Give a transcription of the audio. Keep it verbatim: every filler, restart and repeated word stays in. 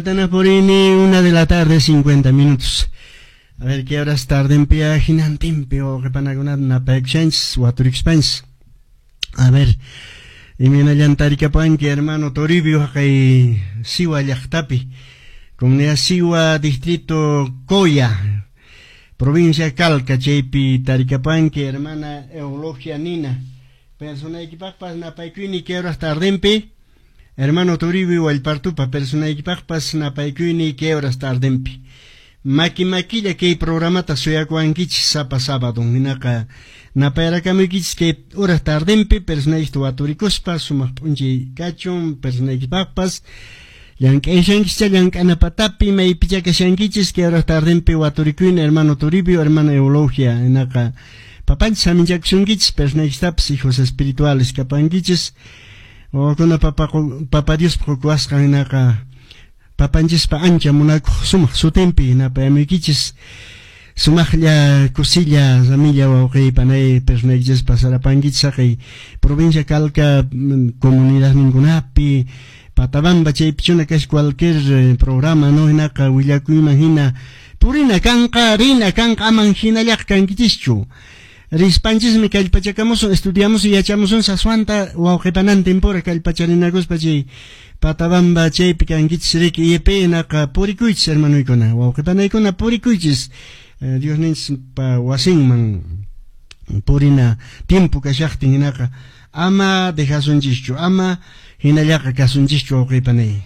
Purini, una de la tarde, cincuenta minutos. A ver, qué horas tardenpi hinantinpi wawqipanakunata napaykushanchis waturikushpanchis. A ver, imaynallan tarikapanki, hermano Toribio, haqay Siwa llaqtapi, comunidad Siwa, distrito Coya, provincia Calca, chaypi tarikapanki, hermana Eulogia Nina. Personaykipaqpas napaykuyni qué horas tardenpi, hermano Toribio Wallpartupa, personaykipaqpas napaykuyni qué horas tardenpi. Maki makilla kay programata suyakuwankichis sapa sábado, hinaqa napayrakamuykichis kay horas tardenpi personaykita waturikuspa sumaq p'unchay kachun personaykipaqpas. Llank'ayshankischa llank'ana patapi maypicha kashankichis kay horas tardenpi waturikuyni hermano Toribio, hermana Eulogia, hinaqa papanchis saminchakusunkichis personaykistapas hijos espirituales kapankichis wawakuna papa papa Diospa qukuwasqan hinaqa papanchispa ancha munakuq sumaq sutinpi napayamuykichis sumaqlla kusilla ramilla wawqiy panay personaykichis pasarapankichis haqay provincia Calca comunidad ninkunapi Patabamba chaypichuna kash cualquier programa no hinaqa willakuyman hina purina kanqa rina kanqa aman hinallaqa kankichischu rispanchismi kallpachakamusun estudiamusun yachamusun saswanta wawqipanantin pura kallpacharinakuspa chay Patabamba chaypi kankichis riki I E P hinaqa purikuychis hermanoykuna wawqipanaykuna purikuychis Diosninchis wasinman purina tiempo kashaqtin hinaqa ama dejasunchischu ama hinallaqa kasunchischu wawqipanay.